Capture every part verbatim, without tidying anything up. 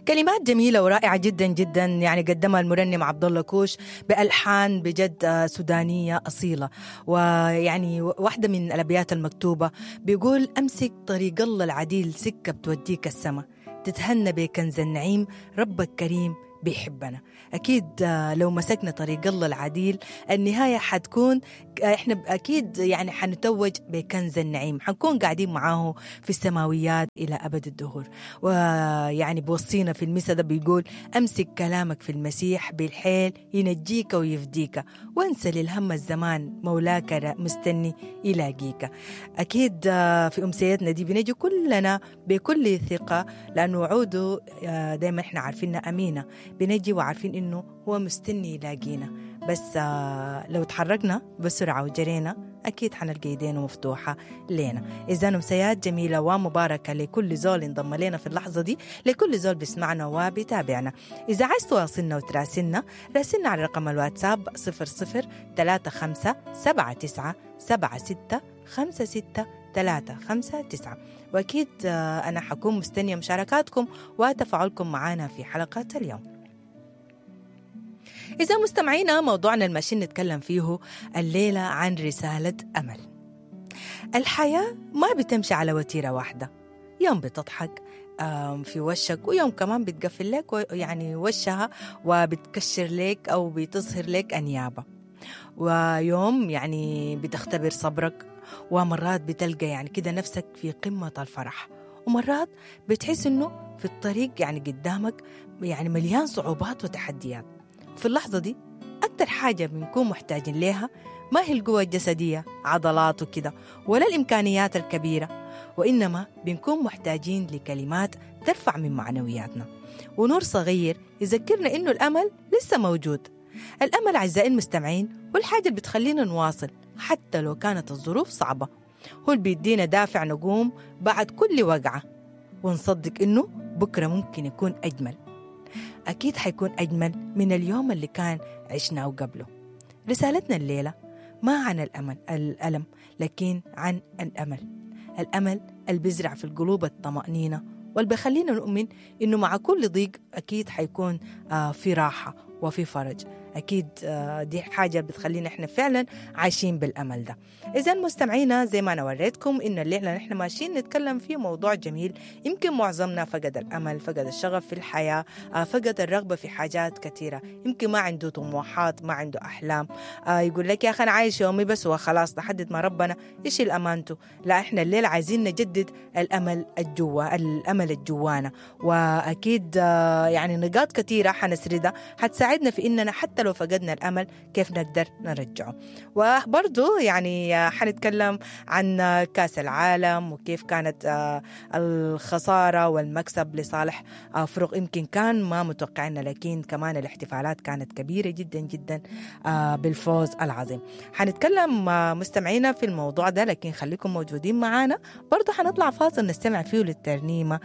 كلمات جميلة ورائعة جدا جدا، يعني قدمها المرنم عبد الله كوش بألحان بجد سودانية أصيلة. ويعني واحدة من الأبيات المكتوبة بيقول: أمسك طريق الله العديل، سكة بتوديك السما، تتهنى بكنز النعيم، ربك كريم بيحبنا. أكيد لو مسكنا طريق الله العديل النهاية حتكون إحنا أكيد يعني حنتوج بكنز النعيم، حنكون قاعدين معاه في السماويات إلى أبد الدهور. ويعني بوصينا في المسا ده بيقول: أمسك كلامك في المسيح بالحيل ينجيك ويفديك، وانسى للهم الزمان مولاك مستني يلاقيك. أكيد في أمسيتنا دي بنجي كلنا بكل ثقة، لأنه وعوده دايما إحنا عارفينها أمينة، بنجي وعارفين إنه هو مستني يلاقينا، بس لو تحركنا بسرعة وجرينا أكيد حنلقى ايدينا مفتوحة لنا. إذا أمسيات جميلة ومباركة لكل زول انضم لنا في اللحظة دي، لكل زول بيسمعنا وبيتابعنا. إذا عايز تواصلنا وتراسلنا راسلنا على رقم الواتساب صفر صفر ثلاثة خمسة سبعة تسعة سبعة ستة خمسة ستة ثلاثة خمسة تسعة. وأكيد أنا حكون مستنية مشاركاتكم وتفاعلكم معنا في حلقة اليوم. إذا مستمعينا، موضوعنا الماشيين نتكلم فيه الليلة عن رسالة أمل. الحياة ما بتمشي على وتيرة واحدة، يوم بتضحك في وشك ويوم كمان بتقفل لك يعني وشها وبتكشر لك أو بتظهر لك أنيابة، ويوم يعني بتختبر صبرك، ومرات بتلقى يعني كده نفسك في قمة الفرح، ومرات بتحس إنه في الطريق يعني قدامك يعني مليان صعوبات وتحديات. في اللحظة دي أكتر حاجة بنكون محتاجين لها ما هي القوة الجسدية، عضلات وكده، ولا الإمكانيات الكبيرة، وإنما بنكون محتاجين لكلمات ترفع من معنوياتنا ونور صغير يذكرنا إنه الأمل لسه موجود. الأمل أعزائي المستمعين هو الحاجة اللي بتخلينا نواصل حتى لو كانت الظروف صعبة، هو اللي بيدينا دافع نقوم بعد كل وقعة ونصدق إنه بكرة ممكن يكون أجمل. أكيد حيكون أجمل من اليوم اللي كان عشناه قبله. رسالتنا الليلة ما عن الأمل الألم، لكن عن الأمل. الأمل اللي بيزرع في القلوب الطمأنينة، واللي بيخلينا نؤمن إنه مع كل ضيق أكيد حيكون في راحة وفي فرج. أكيد دي حاجة بتخلينا إحنا فعلا عايشين بالأمل ده. إذا مستمعينا، زي ما أنا وريتكم إن الليلة نحن ماشيين نتكلم في موضوع جميل، يمكن معظمنا فقد الأمل، فقد الشغف في الحياة، فقد الرغبة في حاجات كثيرة، يمكن ما عنده طموحات، ما عنده أحلام، يقول لك يا أخي أنا عايش يومي بس وخلاص لحد ما ربنا يشيل أمانته. لا، إحنا الليلة عايزين نجدد الأمل الجوا، الأمل الجوانا. وأكيد يعني نقاط كثيرة حنسردها حتساعدنا في إننا حتى لو فقدنا الأمل كيف نقدر نرجعه. وبرضو يعني حنتكلم عن كأس العالم وكيف كانت الخسارة والمكسب لصالح فرق يمكن كان ما متوقعنا، لكن كمان الاحتفالات كانت كبيرة جدا جدا بالفوز العظيم. حنتكلم مستمعينا في الموضوع ده، لكن خليكم موجودين معنا. برضو حنطلع فاصل نستمع فيه للترنيمة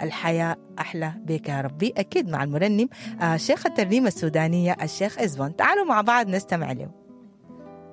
الحياة أحلى بك يا ربي، أكيد مع المرنم شيخ الترنيمة السودانية الشيخ إزبون. تعالوا مع بعض نستمع له.